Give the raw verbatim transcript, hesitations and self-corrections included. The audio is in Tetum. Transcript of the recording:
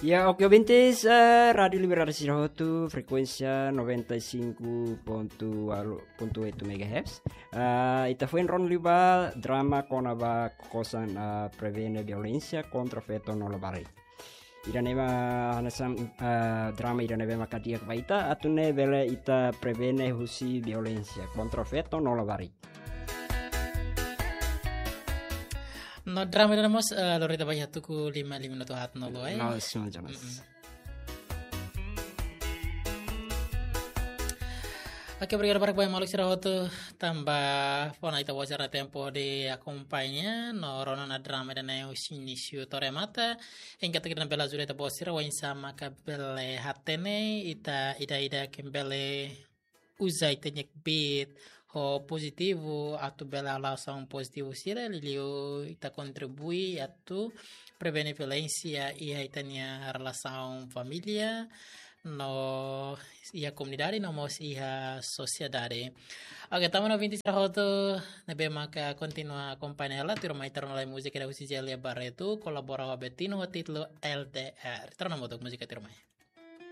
Ya, oke, ouvintes, eh, Rádio Liberdade sira hotu, frekuénsia noventa e cinco ponto oito megahertz. Ah, ita foin rona liu ba drama kona-ba kokosan, ah, prevene violénsia kontra feto no labarik. Ida-ne'e mak hanesan, ah, drama ida-ne'ebé maka di'ak ba ita, atu nune'e bele ita prevene husi violénsia kontra feto no labarik. No drama ida-ne'e mós, eh, lori ita ba iha tuku lima, lima minutu haat no lo, eh. No, semua jelas. Mm-mm. Oke, obrigadu barak ba maluk sira hotu tanba fó ona ita-boot sira tempu hodi akompaña no rona ona drama ida-ne'e husi inísiu to'o remata. Enkuantu ke ita bele ajuda ita-boot sira, oinsá maka bele hatene ita ida-idak ke bele uza ita-nia kbiit ho pozitivu, atu bele halo asaun pozitivu sira, liuliu ita kontribui atu prevene violénsia iha ita-nia relasaun família, no iha komunidade, no mós iha sosiedade. Oke, tama no ouvintes sira hotu ne'ebé maka kontinua akompaña hela, tuirmai ita rona lai múzika ida husi Zélia Barreto, kolabora ho Betinho ho títulu L D R. Ita rona hamutuk múzika tuirmai.